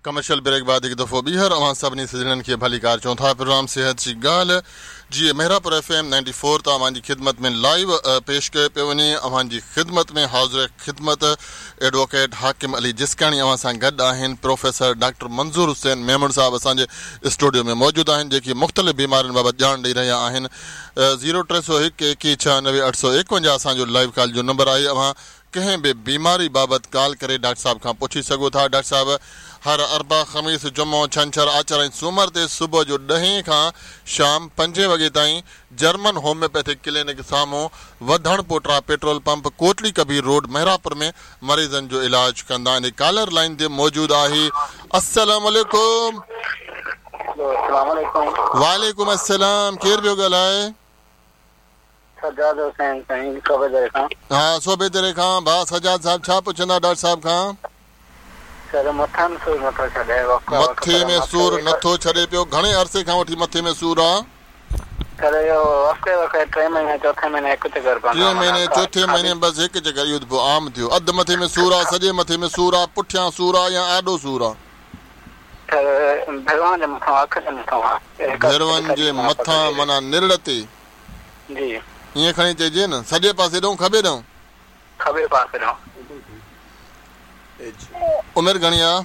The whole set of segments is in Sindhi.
ڪمرشل بريڪ بعد هڪ دفعو ٻيهر اوهان سڀني سڄڻن کي ڀليڪار چئون ٿا پروگرام صحت جي ڳالهه جي Mehrabpur F M ninety four تان اوهان جي خدمت ۾ لائيو پيش ڪيو پيو وڃي اوهان جي خدمت ۾ حاضر خدمت ايڊووڪيٽ حاڪم علي جسڪاڻي اوهان سان گڏ آهن پروفيسر ڊاڪٽر منظور حسين ميمڻ صاحب اسان جي اسٽوڊيو ۾ موجود آهن جيڪي مختلف بيمارين بابت ڄاڻ ڏئي رهيا آهن زيرو 301 21 96 851 اسان جو لائيو ڪال جو نمبر آهي اوهان ڪنهن به بيماري بابت ڪال ڪري ڊاڪٽر صاحب کان پڇي سگهو ٿا. ڊاڪٽر صاحب هر اربع، خميس، جمعو، ڇنڇر، آچر ۽ سومر تي صبح جو ڏهين کان شام پنجين وڳي تائين جرمن هوميوپيٿڪ ڪلينڪ سامهون وڌڻ پوٽرا پيٽرول پمپ ڪوٽڙي ڪبير روڊ محرابپور ۾ مريضن جو علاج ڪندا آهن. ڪالر لائين تي موجود آهي. السلام عليڪم. السلام عليڪم. وعليڪم السلام ڪير پيو ڳالهائي؟ سجاد حسين سائين صوبيدري کان. ها صوبيدري کان ڀاء سجاد صاحب ڇا پڇندا ڊاڪٽر صاحب کان. سر مٿي ۾ سور نٿو ڇڏي وقت مٿي ۾ سور نٿو ڇڏي پيو گهڻي عرصي کان وٺي مٿي ۾ سور آ. سر اهو وقفي وقفي ٽئين مهيني چوٿين مهيني هڪ چڪر پوندو آ. ٽئين مهيني چوٿين مهيني بس هڪ چڪر اهو ته پوء عام ٿيو اڌ مٿي ۾ سور آ سڄي مٿي ۾ سور آ پٺيان سور آ يا آڏو سور آ. سر ڀروئن جي مٿان اک جي مٿان آ. ڀروئن جي مٿان معنيٰ نرڙ تي. جي. ائين کڻي چئجي نه. سڄي پاسي ڏئون کٻي ڏئون؟ کٻي پاسي ڏئون. عمر گهڻي آ؟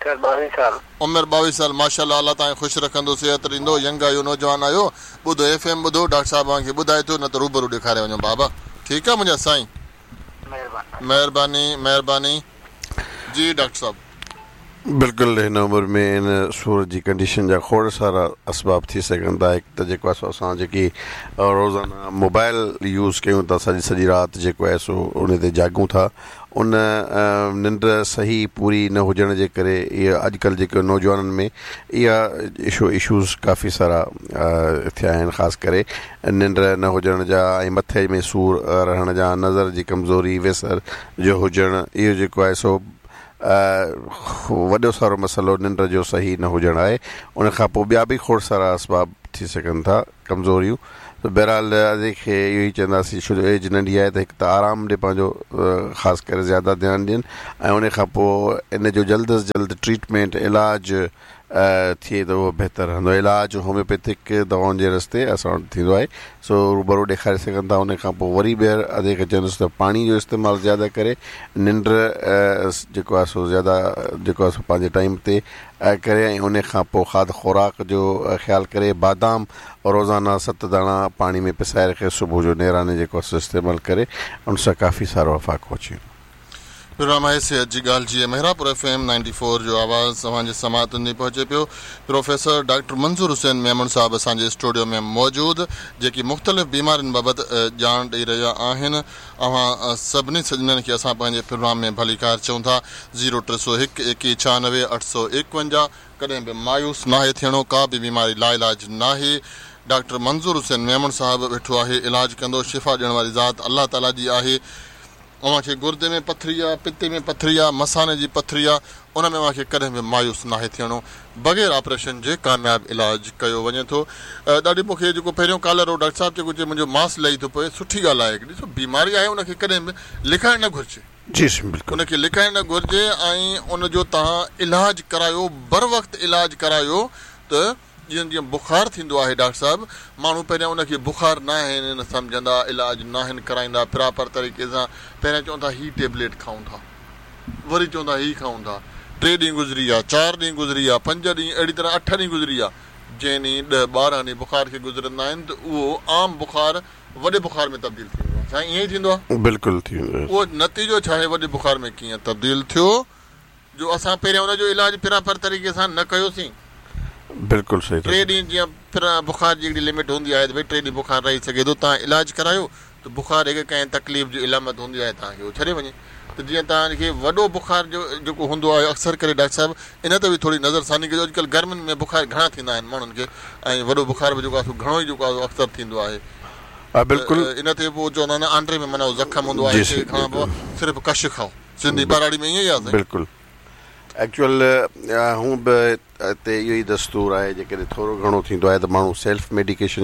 سر 22 سال. عمر 22 سال ماشاءالله الله توهان کي خوش رکندو صحت ڏيندو ينگ آهيو نوجوان آهيو ٻڌو ايف ايم ٻڌو ڊاڪٽر صاحب اوهان کي ٻڌائي ٿو نه ته روبرو ڏيکاري وڃو بابا ٺيڪ آ منهنجا سائين. مهرباني. مهرباني مهرباني جي ڊاڪٽر صاحب. بلڪل هن عمر ۾ ان سور جي ڪنڊيشن جا کوڙ سارا اسباب ٿي سگهن ٿا هڪ ته جيڪو آهي سو اسان جيڪي روزانه موبائل يوز ڪيون ٿا سڄي سڄي رات جيڪو آهي سو ان تي جاڳون ٿا ان ننڊ صحيح پوري نه هجڻ جي ڪري اهي اڄڪلهه جيڪي نوجوانن ۾ اها اشو اشوز ڪافي سارا ٿيا آهن خاص ڪري ننڊ نه هجڻ جا ۽ مٿي ۾ سور رهڻ جا نظر جي ڪمزوري ويسر جو هجڻ اهو جيڪو آهي سو وڏو سارو مسئلو ننڊ جو صحيح نه هجڻ آهي ان کان پوء ٻيا به کوڙ سارا اسباب ٿي سگهن ٿا ڪمزوريون ته بهرحال ادي کي اهو ئي چونداسين ڇو جو ايج ننڍي آهي ته هڪ ته آرام ڏي پنهنجو خاص ڪري زياده ڌيان ڏين ۽ ان کان پوء ان جو جلد از جلد ٽريٽمينٽ علاج ٿئي ته اهو بهتر رهندو. علاج هوميوپيٿڪ دوائن جي رستي اسان وٽ ٿيندو آهي سو روبرو ڏيکاري سگهن ٿا ان کان پوء وري ٻيهر ادي کي چوندس ته پاڻي جو استعمال زياده ڪري ننڊ جيڪو آهي سو زياده جيڪو آهي سو پنهنجي ٽائيم تي ڪري ۽ ان کان پوء کاڌ خوراڪ جو خيال ڪري بادام روزانه ست داڻا پاڻي ۾ پسائي رکي صبح جو نيراني جيڪو آهي سو استعمال ڪري ان سان ڪافي سارو افاقو اچي ويندو. پروگرام آهي صحت جي ڳالهه جي Mehrabpur F M ninety four جو آواز اوهان جي سماعتن تائين پهچي پيو پروفيسر ڊاڪٽر منظور حسين ميمڻ صاحب اسان جي اسٽوڊيو ۾ موجود جيڪي مختلف بيمارين بابت ڄاڻ ڏئي رهيا آهن اوهان سڀني سڄڻن کي اسان پنهنجي پروگرام ۾ ڀليڪار چئون ٿا زيرو 301 21 96 851 ڪڏهن به مايوس ناهي ٿيڻو ڪا به بيماري لاعلاج ناهي ڊاڪٽر منظور حسين ميمڻ صاحب ويٺو آهي علاج ڪندو شفا ڏيڻ واري ذات الله تعالي جي آهي اوهان کي گردي ۾ پٿري آ، پتي ۾ پٿري آ، مثاني جي پٿري آ، ان ۾ اوهان کي ڪڏهن به مايوس ناهي ٿيڻو. بغير آپريشن جي ڪامياب علاج ڪيو وڃي ٿو. ڏاڏي مون کي جيڪو پهريون ڪالر هو ڊاڪٽر صاحب جيڪو چئي منهنجو ماس لهي ٿو پوي سٺي ڳالهه آهي ڏسو بيماري آهي ان کي ڪڏهن به لڪائڻ نه گهرجي. جي سائين بلڪل. ان کي لڪائڻ نه گهرجي ۽ ان جو توهان علاج ڪرايو بروقت علاج ڪرايو ته جيئن جيئن بخار ٿيندو آهي ڊاڪٽر صاحب ماڻهو پهريان ان کي بخار ناهن سمجهندا علاج ناهن ڪرائيندا پراپر طريقي سان پهريان چون ٿا هي ٽيبليٽ کائون ٿا وري چون ٿا هي کائون ٿا ٽي ڏينهن گذري ويا چار ڏينهن گذري ويا پنج ڏينهن اهڙي طرح اٺ ڏينهن گذري ويا جنهن ڏينهن ڏهه 12 ڏينهن بخار کي گذرندا آهن ته اهو عام بخار وڏي بخار ۾ تبديل ٿي ويندو آهي سائين ائين ئي ٿيندو آهي؟ بلڪل ٿي ويندو آهي. اهو نتيجو ڇا آهي وڏي بخار ۾ ڪيئن تبديل ٿيو جو اسان پهريان ان جو علاج پراپر طريقي سان نه ڪيوسين. بلڪل صحيح ٿا ٽي ڏينهن جيئن بخار جي هڪڙي لمٽ هوندي آهي ته ڀئي ٽي ڏينهن بخار رهي سگهي ٿو توهان علاج ڪرايو ته بخار هڪ ڪنهن تڪليف جي علامت هوندي آهي توهان کي اهو ڇڏي وڃي ته جيئن توهان کي وڏو بخار جو جيڪو هوندو آهي اڪثر ڪري ڊاڪٽر صاحب ان تي به ٿوري نظر ثاني ڪجو اڄڪلهه گرمين ۾ بخار گهڻا ٿيندا آهن ماڻهن کي ۽ وڏو بخار به جيڪو آهي سو گهڻو ئي جيڪو آهي سو اڪثر ٿيندو آهي ها بلڪل ان تي پوء چوندا آهن آنڊري ۾ معنيٰ زخم هوندو آهي جي تنهن کان پوء صرف ڪش کائو. سنڌي ٻهراڙي ۾ ائين ئي آ سائين. بلڪل ايڪچوئل هون به هتي اهو ئي دستور آهي جيڪڏهن ٿورو گهڻو ٿيندو آهي ته ماڻهو سيلف ميڊيڪيشن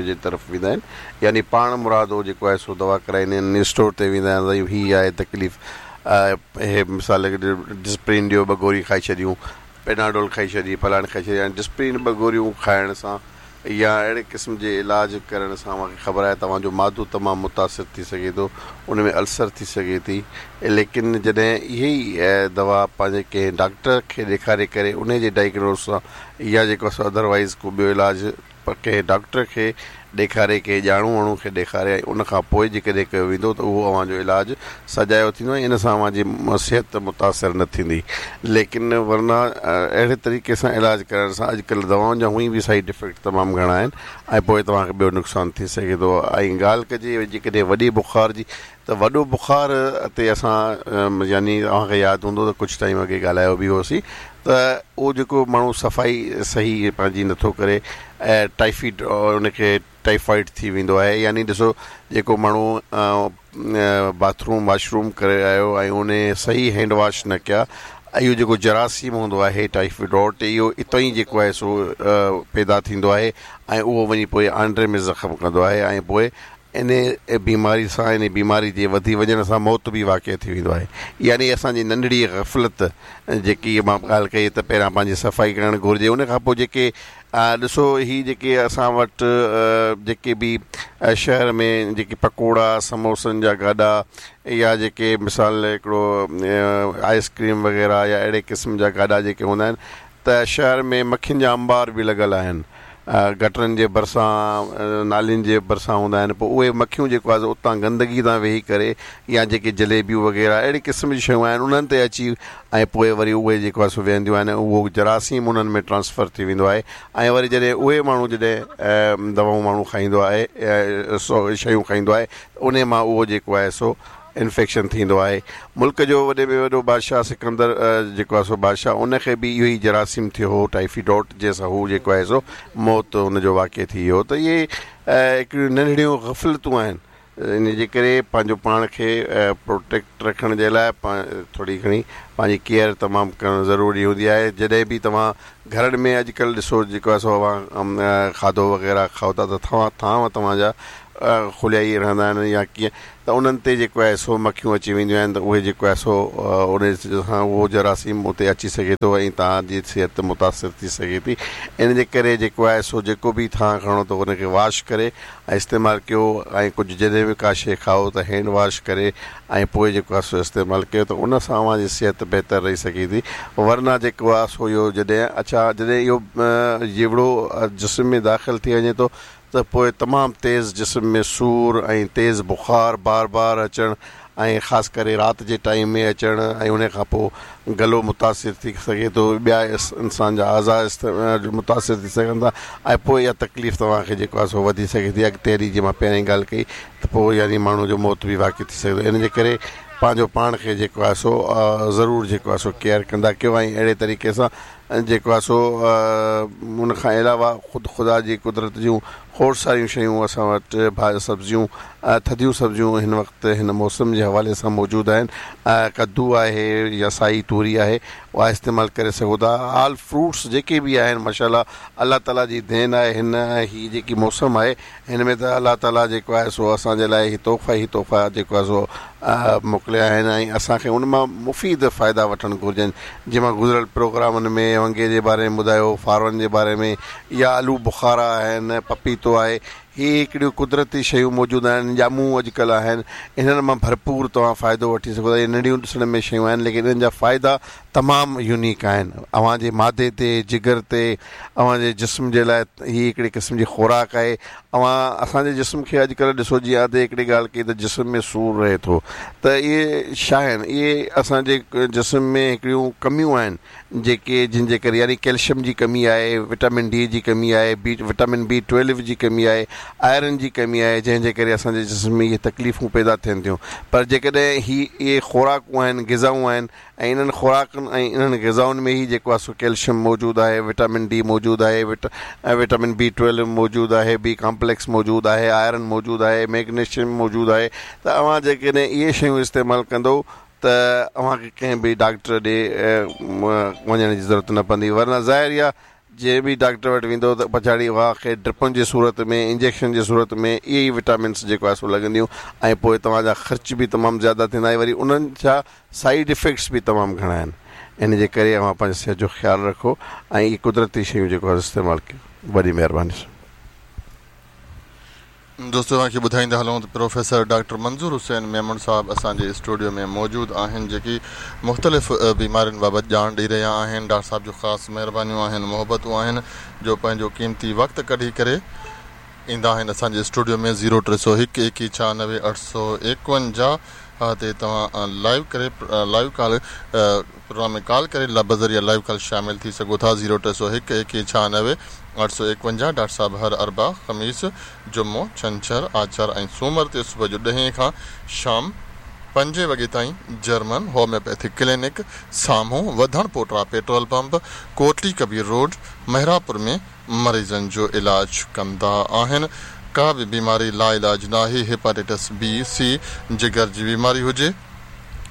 جي طرف ويندا آهن يعني پاڻ مرادو جيڪو آهي سو دوا ڪرائيندا آهن اسٽور تي ويندا آهن سائين هي آهي تڪليف اهي مثال ڊسپرين ڏيو ٻه گوري کائي ڇڏيون، پيناڊول کائي ڇڏي، فلاڻي کائي ڇڏي، هاڻي ڊسپرين ٻه گوريون کائڻ سان يا اهڙي قسم جي علاج ڪرڻ سان اوهان کي خبر آهي توهان جو معدو تمام متاثر ٿي سگهي ٿو، ان ۾ السر ٿي سگهي ٿي، ليڪن جڏهن اهي ئي دوا پنهنجي ڪنهن ڊاڪٽر کي ڏيکاري ڪري انهي جي ڊائگنوز سان يا جيڪو سو ادروائيز ڪو ٻيو علاج ڪنهن ڊاڪٽر کي ڏيکاري ڪنهن ڄاڻو واڻو کي ڏيکاري ۽ ان کان پوء جيڪڏهن ڪيو ويندو ته اهو اوهان جو علاج سجايو ٿيندو ۽ ان سان اوهان جي صحت متاثر نه ٿيندي ليڪن ورنه اهڙي طريقي سان علاج ڪرڻ سان اڄڪلهه دوائن جا هونئن به سائيڊ افيڪٽ تمام گهڻا آهن ۽ پوء توهان کي ٻيو نقصان ٿي سگهي ٿو ۽ ڳالهه ڪجي جيڪڏهن وڏي بخار جي ته وڏو بخار تي اسان يعني اوهان کي ياد هوندو ته ڪجهه ٽائيم اڳي ڳالهايو به هوسين ته اهو جيڪو ماڻهو صفائي صحيح پنهنجي نٿو ڪري ۽ ٽائيفيڊ ان کي ٽائيفائيڊ ٿي ويندو آهي يعني ڏسو جيڪو ماڻهو باٿ روم واش روم ڪري آيو ۽ ان صحيح هينڊ واش نه ڪيا اهو جيڪو جراثيم هوندو آهي ٽائيفيڊوٽ اهو اتان ئي جيڪو آهي سو پيدا ٿيندو آهي ۽ اهو وڃي پوء آنڊري ۾ زخم ڪندو آهي ۽ پوء انهيء بيماري سان انهيء بيماري جي وڌي وڃڻ سان موت به واقع ٿي ويندو آهي. يعني اسان جي ننڍڙي غفلت جيڪي مان ڳالهه ڪئي ته پهريان پنهنجي صفائي ڪرڻ گهرجي ان کان پوء جيڪي ڏسو هي جيڪي اسان وٽ جيڪي به شهر ۾ جيڪي پڪوڙا سموسن جا گاڏا يا جيڪي مثال هڪڙو آئس ڪريم وغيره يا اهڙي قسم جا گاڏا جيڪي هوندا آهن ته شهر ۾ مکين جا انبار به لڳل آهن. گٽرن جي ڀرسان، نالين جي ڀرسان هوندا آهن پوء اهي مکيون جيڪو آهي سو اتان گندگي تان ويهي ڪري يا جيڪي جليبيون وغيره اهڙي قسم جون شيون آهن انهن تي اچي ۽ پوء وري اهي جيڪو آهي سو ويهنديون آهن اهو جراثيم انهن ۾ ٽرانسفر ٿي ويندو آهي ۽ وري جڏهن اهي ماڻهو جڏهن دوائون ماڻهو کائيندو آهي سو شيون کائيندو آهي ته انهي مان اهو جيڪو آهي سو انفيڪشن ٿيندو آهي. ملڪ جو وڏي ۾ وڏو بادشاهه سڪندر جيڪو آهي سو بادشاهه ان کي به اهو ئي جراثيم ٿيو هو ٽائيفيڊوٽ جنهن سان هو جيڪو آهي سو موت ان جو واقع ٿي ويو ته اهي هڪڙيون ننڍڙيون غفلتون آهن ان جي ڪري پنهنجو پاڻ کي پروٽيڪٽ رکڻ جي لاء ٿوري گهڻي پنهنجي ڪيئر تمام ڪرڻ ضروري هوندي آهي جڏهن به توهان گهرن ۾ اڄڪلهه ڏسو جيڪو آهي سو اوهان کاڌو وغيره کائو ٿا ته ٿانو توهان جا کليا ئي رهندا آهن يا ڪيئن ته انهن تي جيڪو آهي سو مکيون اچي وينديون آهن ته اهي جيڪو آهي سو ان سان اهو جراثيم اتي اچي سگهي ٿو ۽ توهان جي صحت متاثر ٿي سگهي ٿي ان جي ڪري جيڪو آهي سو جيڪو به ٿانء کڻو ته ان کي واش ڪري ۽ استعمال ڪيو ۽ ڪجهه جڏهن به ڪا شيء کائو ته هينڊ واش ڪري ۽ پوء جيڪو آهي سو استعمال ڪيو ته ان سان اوهان جي صحت بهتر رهي سگهي ٿي ورنه جيڪو آهي سو اهو جڏهن اڇا جڏهن اهو جيوڙو جسم ۾ داخل ٿي وڃي ٿو ته پوء تمام تيز جسم ۾ سور ۽ تيز بخار بار بار اچڻ ۽ خاص ڪري رات جي ٽائيم ۾ اچڻ ۽ ان کان پوء گلو متاثر ٿي سگهي ٿو ٻيا انسان جا اعضا متاثر ٿي سگهن ٿا ۽ پوء اها تڪليف توهان کي جيڪو آهي سو وڌي سگهي ٿي اڳتي هلي جيئن مان پهرين ڳالهه ڪئي ته پوء يعني ماڻهو جو موت به واقع ٿي سگهي ٿو ان جي ڪري پنهنجو پاڻ کي جيڪو آهي سو ضرور جيڪو آهي سو ڪيئر ڪندا ڪيو ۽ اهڙي طريقي سان جيڪو آهي سو ان کان علاوه خود خدا جي قدرت جون کوڙ ساريون شيون اسان وٽ سبزيون ٿڌيون سبزيون هن وقت هن موسم جي حوالي سان موجود آهن ڪدو آهي يا سائي توري آهي اها استعمال ڪري سگهو ٿا آل فروٽس جيڪي به آهن ماشاء الله الله تعالي جي دين آهي هن هي جيڪي موسم آهي هن ۾ ته الله تعالي جيڪو آهي سو اسان جي لاء هي تحفا ئي تحفا جيڪو آهي سو موڪليا آهن ۽ اسان کي ان مان مفيد فائدا وٺڻ گهرجن جيئن مان گذريل پروگرامن ۾ ونگي جي باري ۾ ٻڌايو فارون جي باري ۾ يا آلو بخارا آهن پپيتو آهي هي هڪڙيون قدرتي شيون موجود آهن ڄمون اڄڪلهه آهن انهن مان ڀرپور توهان فائدو وٺي سگهو ٿا اهي ننڍيون ڏسڻ ۾ شيون آهن ليڪن انهن جا فائدا تمام يونيڪ آهن اوهان جي معدي تي جگر تي اوهان جي جسم جي لاء هي هڪڙي قسم جي خوراڪ آهي. اوهان اسان جي جسم کي اڄڪلهه ڏسو جيئن ادي هڪڙي ڳالهه ڪئي ته جسم ۾ سور رهي ٿو ته اهي ڇا آهن اهي اسان جي جسم ۾ هڪڙيون ڪميون آهن جيڪي جن جي ڪري يعني ڪيلشم جي ڪمي آهي وٽامن ڊي جي ڪمي آهي بي وٽامن بي ٽويلو جي ڪمي آهي آئرن جي ڪمي آهي جنهن جي ڪري اسان جي جسم ۾ اهي تڪليفون پيدا ٿين ٿيون پر جيڪڏهن هي اهي خوراڪون آهن غذائون آهن ۽ انهن خوراڪن ۽ انهن غذائن ۾ ئي جيڪو آهي سو ڪيلشم موجود آهي، وٽامن ڊي موجود آهي، ۽ وٽامن بي ٽويلو موجود آهي، بي ڪامپليڪس موجود آهي، آئرن موجود آهي، ميگنيشيم موجود آهي ته اوهان جيڪڏهن اهي شيون استعمال ڪندو ته اوهان کي ڪنهن به ڊاڪٽر ڏي وڃڻ جي ضرورت نه پوندي ورنه ظاهر اها جنهن به ڊاڪٽر وٽ ويندؤ ته پڇاڙي اوهان کي ڊرپن جي صورت ۾ انجيڪشن جي صورت ۾ اهي ئي وٽامنس جيڪو آهي سو لڳنديون ۽ پوء توهان جا خرچ به تمام زياده ٿيندا ۽ وري انهن جا سائيڊ افيڪٽس به تمام گهڻا آهن ان جي ڪري اوهان پنهنجي صحت جو خيال رکو ۽ اهي قدرتي شيون جيڪو آهي استعمال ڪيو وڏي مهرباني. دوستو اوهان کي ٻڌائيندا هلون ته پروفيسر ڊاڪٽر منظور حسين ميمڻ صاحب اسان جي اسٽوڊيو ۾ موجود آهن جيڪي مختلف بيمارين بابت ڄاڻ ڏئي رهيا آهن ڊاڪٽر صاحب جون خاص مهربانيون آهن محبتون آهن جو پنهنجو قيمتي وقت ڪڍي ڪري ايندا آهن اسان جي اسٽوڊيو ۾ زيرو ٽي سو هڪ ايڪيهه ڇهانوي اٺ سو ايڪونجاهه تي توهان لائيو ڪري لائيو ڪال پروگرام ۾ ڪال ڪري بذريعه لائيو ڪال شامل ٿي سگهو ٿا زيرو ٽي سو هڪ ايڪيهه ڇهانوي اٺ سو ايڪونجاهه ڊاڪٽر صاحب هر اربع، خميس، جمعو، ڇنڇر، آچر ۽ سومر تي صبح جو ڏهين کان شام پنجين وڳي تائين جرمن هوميوپيٿڪ ڪلينڪ سامهون وڌڻ پوٽرا پيٽرول پمپ ڪوٽلي ڪبير روڊ محرابپور ۾ مريضن جو علاج ڪندا آهن ڪا به بيماري لاعلاج ناهي هيپاٽائٽس بي سي جگر جي بيماري هجي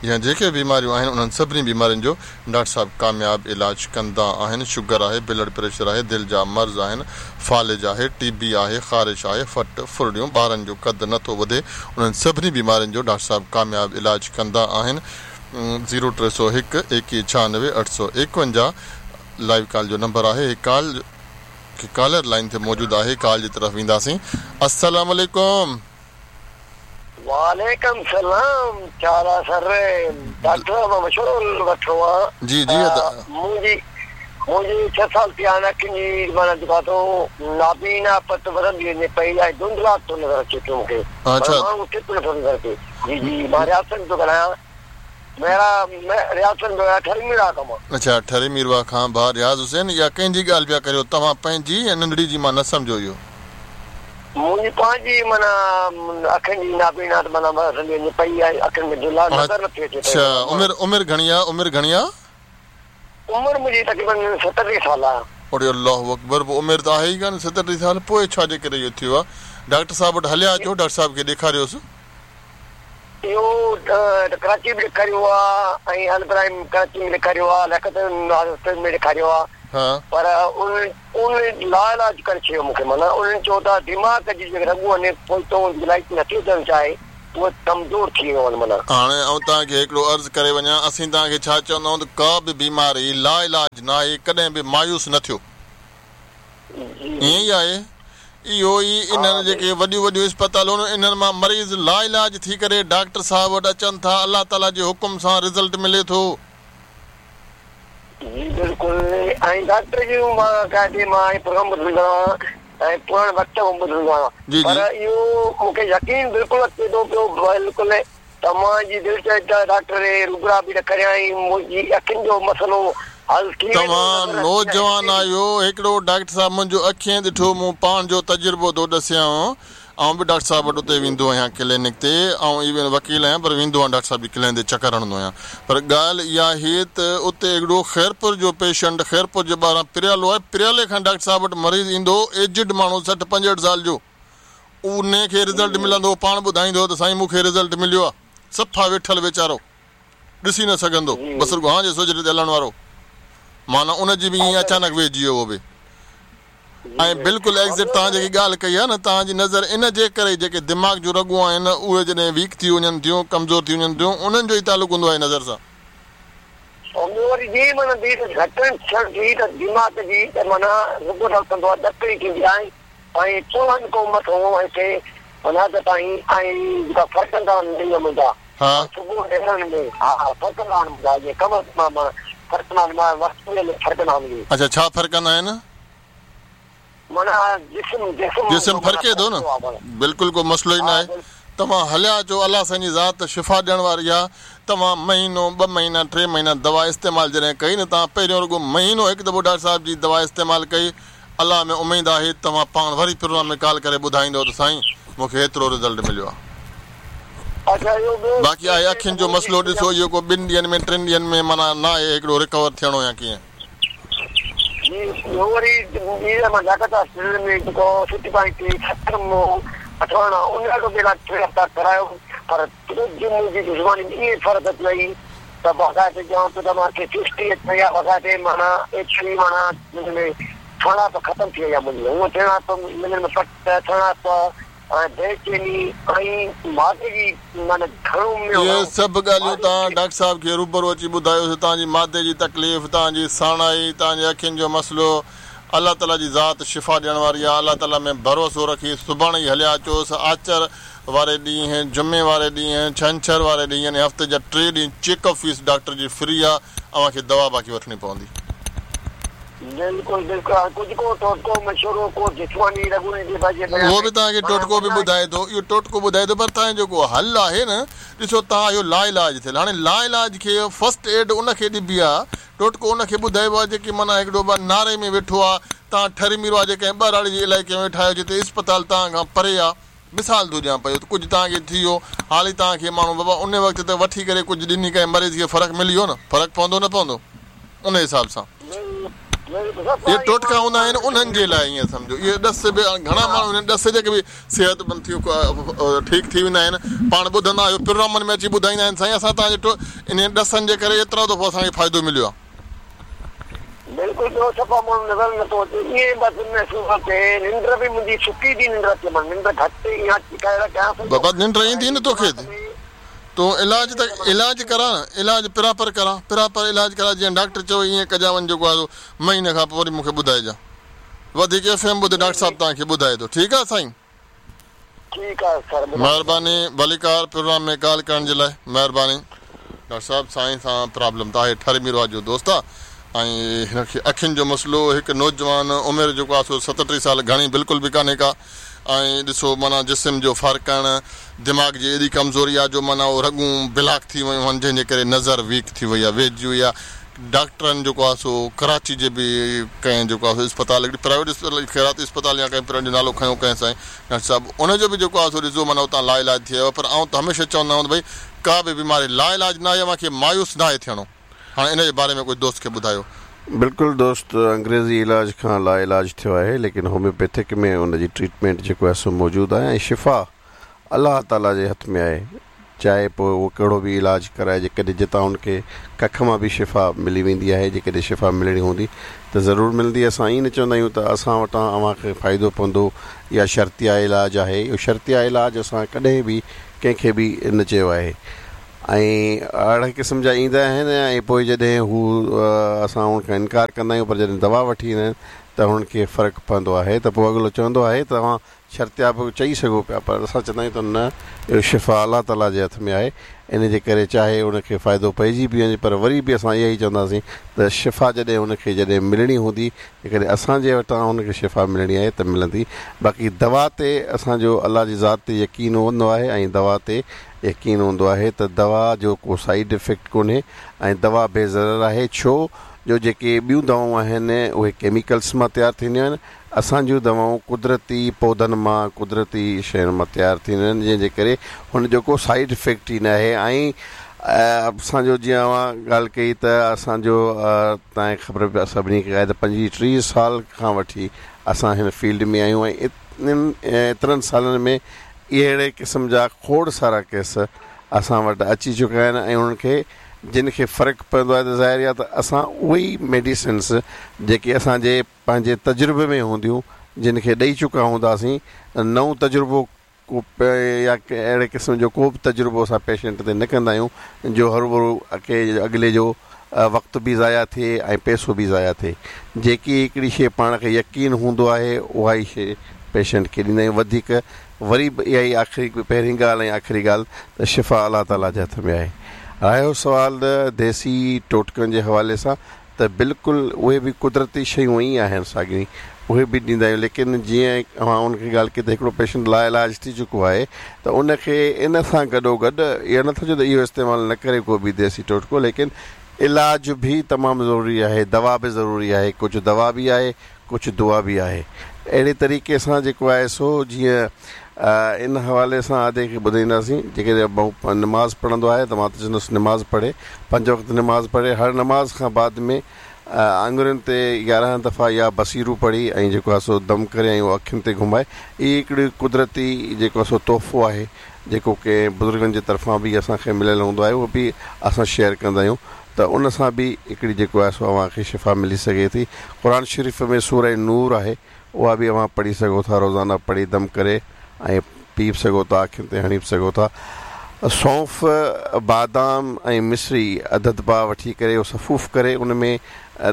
يا جيڪي به بيماريون آهن انهن سڀني بيمارين جو ڊاڪٽر صاحب ڪامياب علاج ڪندا آهن شگر آهي بلڊ پريشر آهي دل جا مرض آهن فالج آهي ٽي بي آهي خارش آهي ڦٽ ڦرڙيون ٻارن جو قد نه ٿو وڌي انهن سڀني بيمارين جو ڊاڪٽر صاحب ڪامياب علاج ڪندا آهن زيرو ٽي سو هڪ ايڪيهه ڇهانوي اٺ سو ايڪونجاهه لائيو ڪال جو نمبر آهي هي ڪال ڪالر لائين تي موجود آهي ڪال جي طرف وينداسين السلام عليڪم. وعليڪم سلام ڇا حال آ سر ڊاڪٽر صاحب مان مشورو وٺڻو آ جي جي ادا. منهنجي منهنجي ڇهه سال ٿيا آهن اکين جي معنيٰ جيڪو آ سو نابينا پت وڌندي وڃي پئي ۽ ڌنڌلاٽ ٿو نظر اچي پيو مونکي اڇا معنيٰ ماڻهو چٽ نٿو نظر اچي جي جي مان رياض سنگهه ٿو ڳالهايان ميرا رياض سنگهه ٿو ڳالهايان ٺري ميرواهه کان مان. اڇا ٺري ميرواهه کان ڀاء رياض حسين اها ڪنهن جي ڳالهه پيا ڪريو توهان پنهنجي يا ننڍڙي جي مان نه سمجهيو اهو. منهنجي پنهنجي معنيٰ اکين جي نابينا ته معنيٰ وڌندي وڃي پئي ۽ اکين ۾ ڌنڌلا نظر نٿي اچي پئي اڇا عمر عمر گهڻي آ عمر گهڻي آ؟ عمر منهنجي تقريبن ستٽيهه سال آ. اڙي الله اڪبر پوء عمر ته آهي ئي ڪانه ستٽيهه سال پوء ڇا جي ڪري اهو ٿيو آ ڊاڪٽر صاحب وٽ هليا اچو ڊاڪٽر صاحب کي ڏيکاريوس. اهو ته ڪراچي به ڏيکاريو آ ۽ البراهيم ڪراچي ۾ ڏيکاريو آ لياقت هاسپيٽل ۾ ڏيکاريو آ پر انهن انهن لاعلاج ڪري ڇڏيو مون کي معنيٰ انهن چيو ته دماغ جي جيڪي رڳون آهن پوئتو لائيٽ نٿي اچڻ چاهي اهي ڪمزور ٿي ويون آهن معنيٰ. هاڻي آئون توهان کي هڪڙو عرض ڪري وڃان اسين توهان کي ڇا چوندا آهيون ته ڪا به بيماري لاعلاج ناهي ڪڏهن به مايوس نه ٿيو. ائين ئي آهي. اهو ئي انهن جيڪي وڏيون وڏيون اسپتالون آهن انهن مان مريض لاعلاج ٿي ڪري ڊاڪٽر صاحب وٽ اچن ٿا الله تعالي جي حڪم سان رزلٽ ملي ٿو. جي بلڪل ۽ ڊاڪٽر جون مان قاعدي مان هي پروگرام ٻڌندو آهيان ۽ پراڻي وقت کان ٻڌندو آهيان جي پر جي. اهو مون کي يقين بلڪل اچي ٿو پيو بلڪل ته مان جي دل چئي ته ڊاڪٽر کي روبرا به نه ڪريان ۽ منهنجي اکين جو مسئلو حل ٿي ويندو توهان نظر اچي نوجوان اچي. آهيو هڪڙو ڊاڪٽر صاحب منهنجو اکين ڏٺو مون پاڻ جو تجربو ٿو ڏسيانو آئون به ڊاڪٽر صاحب وٽ اتي ويندو آهيان ڪلينڪ تي آئون ايون وڪيل آهيان پر ويندو آهيان ڊاڪٽر صاحب جي ڪلينڪ تي چڪر هڻندو آهيان پر ڳالهه اها آهي ته اتي هڪڙو خيرپور جو پيشنٽ خيرپور جي ٻاهران پريالو آهي پريالي کان ڊاڪٽر صاحب وٽ مريض ايندو هو ايجڊ ماڻهو سٺ پنجهٺ سال جو انهي کي رزلٽ ملندو هو پاڻ ٻڌائيندو هو ته سائين مون کي رزلٽ مليو آهي صفا ويٺل ويچارو ڏسي نه سگهندو بس رڳو هان جي سوجهري تي هلڻ وارو معنيٰ ان جي به ائين اچانڪ ويهجي ويو اهو به ۽ بلڪل ايگزيڪٽ توهان جيڪي ڳالهه ڪئي آهي نه توهان جي نظر ان جي ڪري جيڪي دماغ جون رڳون آهن اهي جڏهن ويڪ ٿي وڃن ٿيون ڪمزور ٿي وڃن ٿيون انهن جو ئي تعلق هوندو آهي نظر سان. ۽ ٻيو وري جي معنيٰ دير گهٽڻ ٿيڻ ٿي ته دماغ جي ته معنيٰ رڳو ڊڪندو آهي ڏڪڻي ٿيندي آهي ۽ چوهن کان مٿو هتي منهد تائين ۽ جيڪا ڦرڪندا آهن ڏينهن منهنجا صبح ڏيرن ۾ ها ڦرڪندا آهن منهنجا جيئن ڪم مان ڦرڪندا آهن مان وقت ۾ ڦرڪندا آهن اهي. اڇا ڇا ڦرڪندا آهن؟ معنيٰ جسم جسم جسم ڦرڪي ٿو نه بلڪل ڪو مسئلو ئي ناهي توهان هليا اچو الله سائين جي ذات شفا ڏيڻ واري آهي توهان مهينو ٻه مهينا ٽي مهينا دوا استعمال جڏهن ڪئي نه توهان پهريون رڳو مهينو هڪ دفعو ڊاڪٽر صاحب جي دوا استعمال ڪئي الله ۾ اميد آهي توهان پاڻ وري پروگرام ۾ ڪال ڪري ٻڌائيندؤ ته سائين مون کي هيترو رزلٽ مليو آهي. باقي آهي اکين جو مسئلو ڏسو اهو ڪو ٻن ڏينهن ۾ ٽن ڏينهن ۾ معنيٰ ناهي هڪڙو رڪور ٿيڻو يا ڪيئن. جي ٻيو وري ٻي مان لياقت هاسپيٽل ۾ جيڪو سٽي پوائنٽ تي ستر مون اٺواڻا ان جو به علاج ٽي هفتا ڪرايو پر ڪجهه منهنجي دشمني ۾ ائين فرق اچي وئي ته باقاعدي چوان ٿو ته مان کي سستي اچي وئي آهي باقاعدي معنيٰ ايتري معنيٰ هن ۾ سڻائپ ختم ٿي وئي آهي منهنجي. هونء سڻائپ منهن ۾ پٽ، سڻائپ ۽ بيچيني ۽ مادي جي معنيٰ گهڻو اهي سڀ ڳالهيون توهان ڊاڪٽر صاحب کي روبرو اچي ٻڌايوس، توهان جي مادي جي تڪليف، توهان جي ساڻائي، توهان جي اکين جو مسئلو، الله تعاليٰ جي ذات شفا ڏيڻ واري آهي، الله تعاليٰ ۾ ڀروسو رکي سڀاڻي ئي هليا اچوس، آچر واري ڏينهن، جمعي واري ڏينهن، ڇنڇر واري ڏينهن يعني هفتي جا ٽي ڏينهن چيڪ اپ فيس ڊاڪٽر جي فري آهي، اوهان کي دوا باقي وٺڻي پوندي. بلڪل بلڪل هاڻي ڪجهه ڪو ٽوٽڪو مشورو ڪو جسماني رڳن جي بجي اهو به توهان کي ٽوٽڪو به ٻڌائي ٿو اهو ٽوٽڪو ٻڌائي ٿو پر توهان جو جيڪو حل آهي نه ڏسو توهان آهيو لاعلاج ٿيل هاڻي لاعلاج کي فرسٽ ايڊ ان کي ڏبي آهي ٽوٽڪو ان کي ٻڌائبو آهي جيڪي معنيٰ هڪڙو ٻه ناري ۾ ويٺو آهي توهان ٺري ميرواهه جي ڪنهن ٻهراڙي جي علائقي ۾ ويٺا آهيو جتي اسپتال توهان کان پري آهي مثال ٿو ڏيان پيو ته ڪجهه توهان کي ٿي ويو حالي توهان کي ماڻهو بابا ان وقت ته وٺي ڪري ڪجهه ڏني ڪنهن مريض کي فرق ملي ويو نه فرق پوندو نه پوندو ان حساب سان اهي ٽوٽڪا هوندا آهن انهن جي لاء ائين سمجهو اهي ڏس به گهڻا ماڻهو انهن ڏس جي ڪري به صحت مند ٿي ٺيڪ ٿي ويندا آهن پاڻ ٻڌندا آهيو پروگرامن ۾ اچي ٻڌائيندا آهن سائين اسان توهان جي انهن ڏسن جي ڪري ايترو دفعو اسان کي فائدو مليو آهي. بلڪل ٻيو صفا ماڻهو نظر نه ٿو اچي ائين بس محسوس ٿو ٿئي ننڊ به منهنجي سڪي ٿي ننڊ اچي مان ننڊ گهٽ اها ڪهڙا ڪيان سگهندو بابا ننڊ ايندي نه توکي تون علاج ته علاج ڪرا نه علاج پراپر ڪرا پراپر علاج ڪرا جيئن ڊاڪٽر چوي ايئن ڪجان وڃ جيڪو آهي سو مهيني کان پوء وري مونکي ٻڌائجان وڌيڪ ايف ايم ٻڌ ڊاڪٽر صاحب توهان کي ٻڌائي ٿو ٺيڪ آهي سائين. ٺيڪ آهي سر ٻڌايو. مهرباني ڀليڪار پروگرام ۾ ڳالهه ڪرڻ جي لاء مهرباني. ڊاڪٽر صاحب سائين سان پرابلم ته آهي ٺر ميرواهه جو دوست آ ۽ هن کي اکين جو مسئلو هڪ نوجوان عمر جيڪو آ سو 37 سال گهڻي بلڪل به ڪانهي ڪا ۽ ڏسو معنيٰ جسم جو ڦرڪڻ دماغ جي ايڏي ڪمزوري آ جو معنيٰ اهو رڳون بلاڪ ٿي ويون آهن جنهن جي ڪري نظر ويڪ ٿي وئي آ ويهجي وئي آ ڊاڪٽرن جيڪو آ سو ڪراچي جي به ڪنهن جيڪو آ سو اسپتال هڪڙي پرائيويٽ اسپتال خيراتي اسپتال يا ڪنهن پرائيويٽ جو نالو کنيو ڪنهن سائين ڊاڪٽر صاحب ان جو به جيڪو آ سو ڏسو معنيٰ اتان لا علاج ٿي آيو آ پر آئون ته هميشه چوندو آهيان ته ڀئي ڪا به بيماري لا علاج ناهي اوهان کي مايوس ناهي ٿيڻو هاڻي ان جي باري ۾ ڪجهه دوست کي ٻڌايو. بلڪل دوست انگريزي علاج کان لا علاج ٿيو آهي ليڪن هوميوپيٿڪ ۾ ان جي ٽريٽمينٽ جيڪو آهي سو موجود آهي ۽ شفا الله تعالي جي هٿ ۾ آهي چاهي پوء اهو ڪهڙو به علاج ڪرائي جيڪڏهن جتان ان کي ڪک مان به شفا ملي ويندي آهي جيڪڏهن شفا ملڻي هوندي ته ضرور ملندي اسان ائين نه چوندا آهيون ته اسان وٽان اوهان کي فائدو پوندو يا شرطيه علاج آهي اهو شرطيه علاج اسان ڪڏهن به ڪنهن کي به نه چيو آهي ۽ اهڙي قسم جا ايندا آهن ۽ پوء جڏهن هو اسان انهن کان انڪار ڪندا آهيون پر جڏهن دوا وٺي ايندا آهن ته انهن کي فرق پوندو آهي ته پوء اڳلو چوندو آهي ته اوهان شرطيه به چئي سگهو پيا پر اسان چوندا آهيون ته نه اهو شفا الله تعاليٰ جي هٿ ۾ آهي ان جي ڪري چاهي ان کي فائدو پئجي به وڃي پر وري به اسان اها ئي چونداسين ته شفا جڏهن ان کي جڏهن ملڻي هوندي جيڪڏهن اسان جي وٽان ان کي شفا ملڻي آهي ته ملندي باقي دوا تي اسان جو الله جي ذات تي يقين هوندو آهي ۽ دوا تي يقين هوندو آهي ته دوا جو ڪو سائيڊ افيڪٽ ڪونهي ۽ دوا بي ضرر آهي ڇو جو جيڪي ٻيون دوائون آهن اهي ڪيميڪلس مان تيار ٿينديون آهن اسان جون دوائون قدرتي پوڌن مان قدرتي شين مان تيار ٿينديون آهن جنهن جي ڪري هن جو ڪو سائيڊ افيڪٽ ئي ناهي ۽ اسان جو جيئن اوهان ڳالهه ڪئي ته اسان جو توهان کي خبر به سڀني کي آهي ته 25 30 سال کان وٺي اسان هن فيلڊ ۾ آهيون ۽ ايترن سالن ۾ اهڙي قسم جا کوڙ سارا ڪيس اسان وٽ اچي چڪا آهن ۽ انهن کي جن کي فرق پوندو آهي ته ظاهر آهي ته اسان اهي ئي ميڊيسنس جيڪي اسان جي پنهنجي تجربي ۾ هونديون جن کي ڏئي چڪا هونداسين نئون تجربو ڪو يا اهڙي قسم جو ڪو به تجربو اسان پيشنٽ تي نه ڪندا آهيون جو هروڀرو اڳلي جو وقت به ضايع ٿئي ۽ پئسو به ضايع ٿئي جيڪي هڪڙي شيء پاڻ کي يقين هوندو آهي اها ئي شيء پيشنٽ کي ڏيندا آهيون وڌيڪ وري به اها ئي آخري پهرين ڳالهه ۽ آخري ڳالهه ته شفا الله تعاليٰ جي هٿ ۾ آهي رهيو سوال ديسي ٽوٽڪن جي حوالي سان ته بلڪل اهي به قدرتي شيون ئي آهن ساڳيون ئي اهي به ڏيندا آهيون ليڪن جيئن اوهان ان کي ڳالهه ڪئي ته هڪڙو پيشنٽ لا علاج ٿي چڪو آهي ته ان کي ان سان گڏو گڏ اهو نٿو چئون ته اهو استعمال نه ڪري ڪو به ديسي ٽوٽڪو ليڪن علاج به تمام ضروري آهي دوا به ضروري آهي ڪجهه دوا به آهي ڪجهه دعا به آهي اهڙي طريقي سان جيڪو آهي سو جيئن ان حوالي سان ادي کي ٻڌائينداسين جيڪڏهن نماز پڙهندو آهي ته مان ته چوندس نماز پڙهي پنج وقت نماز پڙهي هر نماز کان بعد ۾ آڱرين تي 11 دفعا يا بصيرو پڙهي ۽ جيڪو آهي سو دم ڪري ۽ اهو اکين تي گهمائي هي هڪڙي قدرتي جيڪو آهي سو تحفو آهي جيڪو ڪنهن بزرگن جي طرفان به اسان کي مليل هوندو آهي اهو به اسان شيئر ڪندا آهيون. ته ان سان به هڪڙي جيڪو آهي سو اوهان کي شفا ملي سگهي ٿي. قرآن شريف ۾ سوره نور آهي اها به اوهان پڙهي سگهو ٿا روزانه پڙهي دم ڪري ۽ پي به سگهو ٿا اکين تي هڻي به سگهو ٿا. سونف، بادام ۽ مصري اڌ اڌ پاء وٺي ڪري اهو سفوف ڪري ان ۾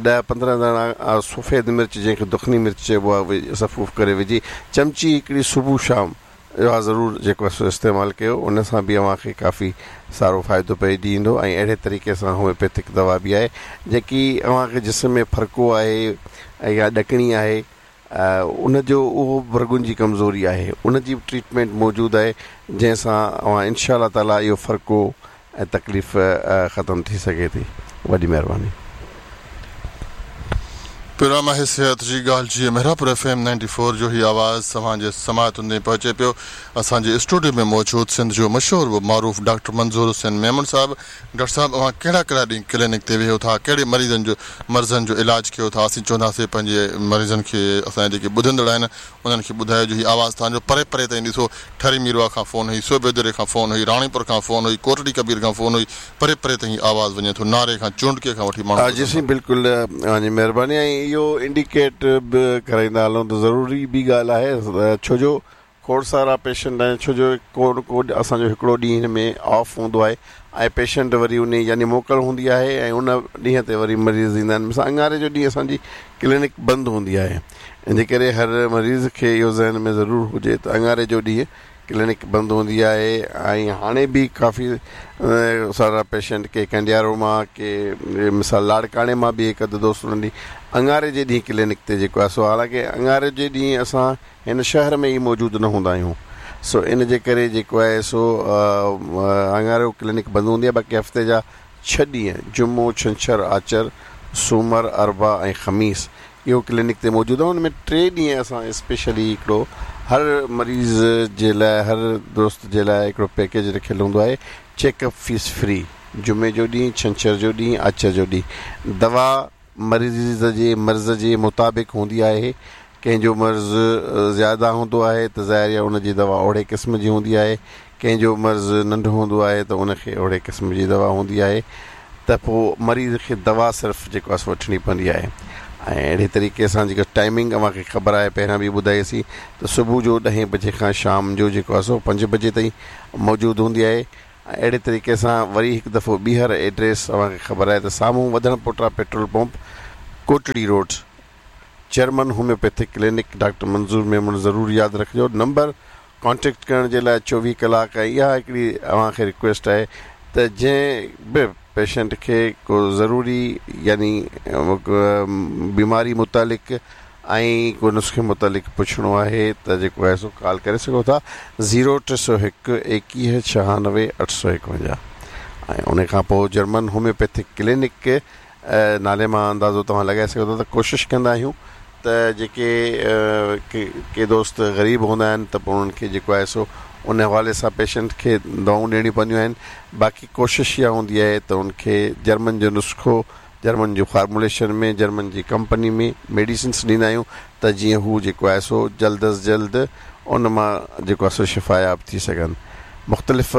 ڏهه 15 داڻا سفيد مرچ جنهن کي دکني مرچ چئبو آهي سفوف ڪري وجهي چمچي هڪڙي صبح شام اها ضرور جيڪو آهي سو استعمال ڪيو ان سان به اوهان کي ڪافي سارو فائدو پئجي ايندو ۽ اهڙي طريقي سان هوميوپيٿڪ دوا به آهي جيڪي اوهان کي جسم ۾ ڦرڪو آهي يا ڏڪڻي آهي ان جو اهو به رڳن جي ڪمزوري آهي ان جي به ٽريٽمينٽ موجود آهي جنهن سان اوهان انشاء الله تعالي اهو ڦرڪو ۽ تڪليف ختم ٿي سگهي ٿي. وڏي مهرباني. پروگرام آهي صحت جي ڳالهه جي محرابپور ايف ايم 94 جو هي آواز توهان جي سماعتن تائين پهچي پيو. اسان جي اسٽوڊيو ۾ موجود سنڌ جو مشهور و معروف ڊاڪٽر منظور حسين ميمڻ صاحب. ڊاڪٽر صاحب اوهان ڪهڙا ڪهڙا ڏينهن ڪلينڪ تي ويهو ٿا ڪهڙي مريضن جو مرضن جو علاج ڪيو ٿا اسين چونداسين پنهنجي مريضن کي اسان جا جيڪي ٻڌندڙ آهن انهن کي ٻڌايو جو هي آواز توهان جو پري پري تائين ڏسو ٺري ميرواهه کان فون هئي، صوڀيدري کان فون هئي، راڻيپور کان فون هئي، ڪوٽڙي ڪبير کان فون هئي، پري پري تائين هي آواز وڃي ٿو، ناري کان چونڊڪي کان وٺي ماڻهو جي ٻڌن ٿا. سائين بلڪل اوهان جي مهرباني ۽ اهو انڊيڪيٽ به ڪرائيندا هلون ته ضروري به ڳالهه آهي ڇو جو کوڙ سارا پيشنٽ آهن ڇو جو ڪو نه ڪو اسان جو هڪڙو ڏينهن هن ۾ آف هوندو آهي ۽ پيشنٽ وري انهي يعني موڪل هوندي آهي ۽ ان ڏينهن تي وري مريض ايندا آهن مثال اڱاري جو ڏينهن اسان جي ڪلينڪ بند هوندي آهي ان جي ڪري هر مريض کي اهو ذهن ۾ ضرور هجي ته اڱاري جو ڏينهن ڪلينڪ بند هوندي آهي ۽ هاڻي به ڪافي سارا پيشنٽ ڪي ڪنڊيارو مان ڪي مثال لاڙڪاڻي مان به هڪ اڌ دوست انهن ڏينهن اڱاري جي ڏينهن ڪلينڪ تي جيڪو آهي سو حالانڪه اڱاري جي ڏينهن اسان هن شهر ۾ ئي موجود نه هوندا آهيون سو ان جي ڪري جيڪو آهي سو اڱارو ڪلينڪ بند هوندي آهي باقي هفتي جا ڇهه ڏينهن جمعو ڇنڇر آچر سومر اربع ۽ خميس اهو ڪلينڪ تي موجود آهي ان ۾ ٽي ڏينهن اسان اسپيشلي هڪڙو هر مريض جي لاء هر دوست جي لاء هڪڙو پيڪيج رکيل هوندو آهي چيڪ اپ فيس فري جمعي جو ڏينهن ڇنڇر جو ڏينهن آچر جو ڏينهن دوا مريض جي مرض جي مطابق هوندي آهي ڪنهن جو مرض زياده هوندو آهي ته ظاهر آهي ان جي دوا اوهڙي قسم جي هوندي آهي ڪنهن جو مرض ننڍو هوندو آهي ته ان کي اوهڙي قسم جي دوا هوندي آهي ته پوء مريض کي دوا صرف جيڪو آهي سو وٺڻي پوندي آهي ۽ اهڙي طريقي سان جيڪا ٽائمنگ اوهان کي خبر آهي پهريان به ٻڌائيسين ته صبح جو ڏهين بجي کان شام جو جيڪو آهي سو 5 بجي تائين موجود هوندي آهي ۽ اهڙي طريقي سان وري هڪ دفعو ٻيهر ايڊريس اوهان کي خبر آهي ته سامهون وڌڻ پوٽا petrol pump Kotri road German homeopathic clinic doctor Manzoor Memon ضرور ياد رکجو نمبر ڪانٽيڪٽ ڪرڻ جي لاء 24 ڪلاڪ ۽ اها هڪڙي اوهان کي رڪويسٽ آهي ته جنهن به پيشنٽ کي ڪو ضروري يعني بيماري متعلق ۽ ڪو نسخي متعلق پڇڻو آهي ته جيڪو آهي سو ڪال ڪري سگهو ٿا 0301 21 96 851 ۽ ان کان پوء جرمن هوميوپيٿڪ ڪلينڪ نالي مان اندازو توهان لڳائي سگهو ٿا ته ڪوشش ڪندا آهيون ته جيڪي ڪي دوست غريب هوندا آهن ته پوء انهن کي جيڪو آهي سو ان حوالي سان پيشنٽ کي دوائون ڏيڻيون پونديون آهن باقي ڪوشش اها هوندي آهي ته ان کي جرمن جو نسخو جرمن جو فارموليشن ۾ جرمن جي ڪمپني ۾ ميڊيسنس ڏيندا آهيون ته جيئن هو جيڪو آهي سو جلد از جلد ان مان جيڪو آهي سو شفاياب ٿي سگهن مختلف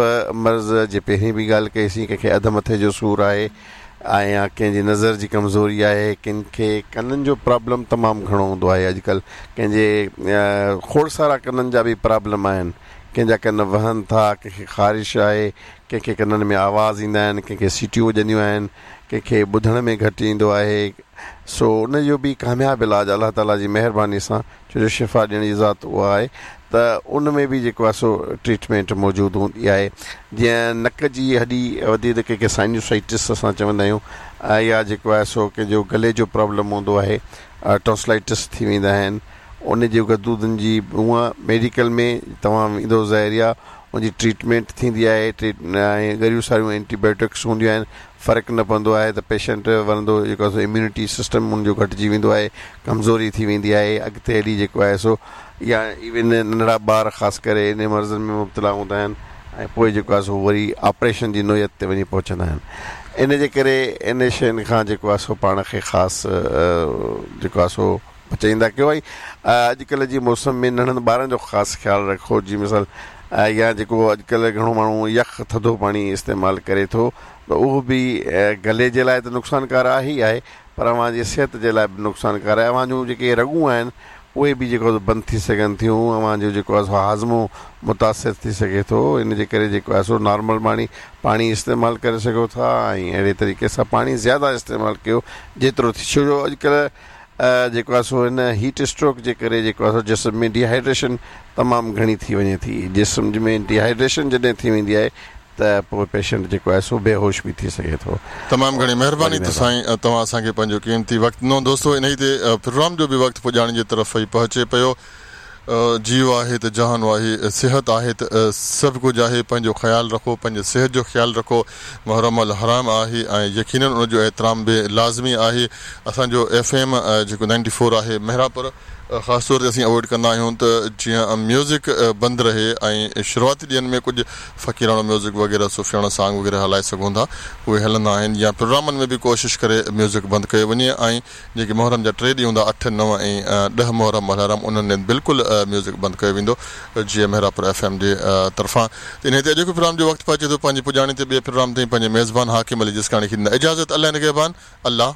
مرض جي پهرين به ڳالهه ڪئي سين ڪنهن کي اڌ مٿي جو سور آهي ۽ يا ڪنهن جي نظر جي ڪمزوري آهي ڪن کي ڪنن جو پرابلم تمام گهڻو هوندو آهي اڄڪلهه ڪنهن جي کوڙ سارا ڪنن جا به پرابلم آهن ڪنهن جا ڪن وهن ٿا ڪنهن کي خارش آهي ڪنهن کي ڪنن ۾ آواز ايندا آهن ڪنهن کي سيٽيون وڄنديون آهن ڪنهن کي ٻڌڻ ۾ گهٽ ايندو آهي سو ان جو به ڪامياب علاج الله تعالي جي مهرباني سان ڇو جو شفا ڏيڻ جي ذات اها آهي ته ان ۾ به جيڪو آهي سو ٽريٽمينٽ موجود هوندي آهي جيئن نڪ جي هڏي وڌي ته ڪنهن کي سائنوسائٽس اسان چوندا آهيون يا جيڪو آهي سو ڪنهن جو گلي جو پرابلم هوندو آهي ٽونسلائٽس ٿي ويندا آهن ان جي غدودن جي هونء ميڊيڪل ۾ توهان ويندو ظاهري آهي ان جي ٽريٽمينٽ ٿيندي آهي ۽ ڳريون ساريون اينٽي بايوٽڪس هونديون آهن فرق نه پوندو آهي ته پيشنٽ ورندو جيڪو آهي سو اميونٽي سسٽم ان جو گهٽجي ويندو آهي ڪمزوري ٿي ويندي آهي اڳتي هلي جيڪو آهي سو يا ايون ننڍڙا ٻار خاص ڪري ان مرضن ۾ مبتلا هوندا آهن ۽ پوء جيڪو آهي سو وري آپريشن جي نوعيت تي وڃي پهچندا آهن ان جي ڪري ان شين کان جيڪو آهي سو پاڻ کي خاص جيڪو آهي سو بچائيندا ڪيو ۽ اڄڪلهه جي موسم ۾ ننڍن ٻارن جو خاص خيال رکو جي مثال يا جيڪو اڄڪلهه گهڻو ماڻهو يخ ٿڌو پاڻي استعمال ڪري ٿو ته اهو به گلي جي لاء ته نقصانڪار آهي ئي آهي پر اوهان جي صحت جي لاء به نقصانڪار آهي. اوهان جون جيڪي رڳون آهن اهي به جيڪو آهي سو بند ٿي سگهن ٿيون. اوهان جو جيڪو آهي سو هاضمو متاثر ٿي سگهي ٿو. ان جي ڪري جيڪو آهي سو نارمل پاڻي پاڻي استعمال ڪري سگهو ٿا ۽ اهڙي طريقي سان پاڻي زياده استعمال ڪيو جيترو ٿي ڇو جو اڄڪلهه جيڪو آهي سو هن هيٽ اسٽروڪ جي ڪري جيڪو آهي سو جسم ۾ ڊيهائيڊريشن تمام گهڻي ٿي وڃي ٿي. جسم ۾ ڊيهائيڊريشن جڏهن ٿي ويندي آهي ته پوء پيشنٽ جيڪو آهي سو بيهوش به ٿي سگهي ٿو. تمام گهڻي مهرباني وڏي ته مهرباني. سائين توهان اسان کي پنهنجو قيمتي وقت ڏنو. دوستو انهي تي پروگرام جو به وقت پڄاڻي جي طرف ئي پهچي پيو. جيء آهي ته جهان آهي، صحت آهي ته سڀ ڪجهه آهي، پنهنجو خيال رکو، پنهنجي صحت جو خيال رکو، محرم الحرام آهي ۽ يقينن ان جو احترام به لازمي آهي، اسان جو ايف ايم جيڪو نائنٽي فور آهي مهراپور خاص طور تي اسين اوائڊ ڪندا آهيون ته جيئن ميوزڪ بند رهي ۽ شروعاتي ڏينهن ۾ ڪجهه فقيراڻو ميوزڪ وغيره صوفياڻو سانگ وغيره هلائي سگهون ٿا اهي هلندا آهن يا پروگرامن ۾ به ڪوشش ڪري ميوزڪ بند ڪيو وڃي ۽ جيڪي محرم جا ٽي ڏينهن هوندا اٺ، نو ۽ ڏهه محرم الحرام انهن ڏينهن بلڪل ميوزڪ بند ڪيو ويندو جيئن مهراپور ايف ايم جي طرفان ته انهي تي اڄوڪي پروگرام جو وقت پهچي ٿو پنهنجي پڄاڻي تي ٻئي پروگرام تائين پنهنجي ميزبان حاڪم علي جسڪاڻي کي ڏيندا اجازت الله نگهبان الله.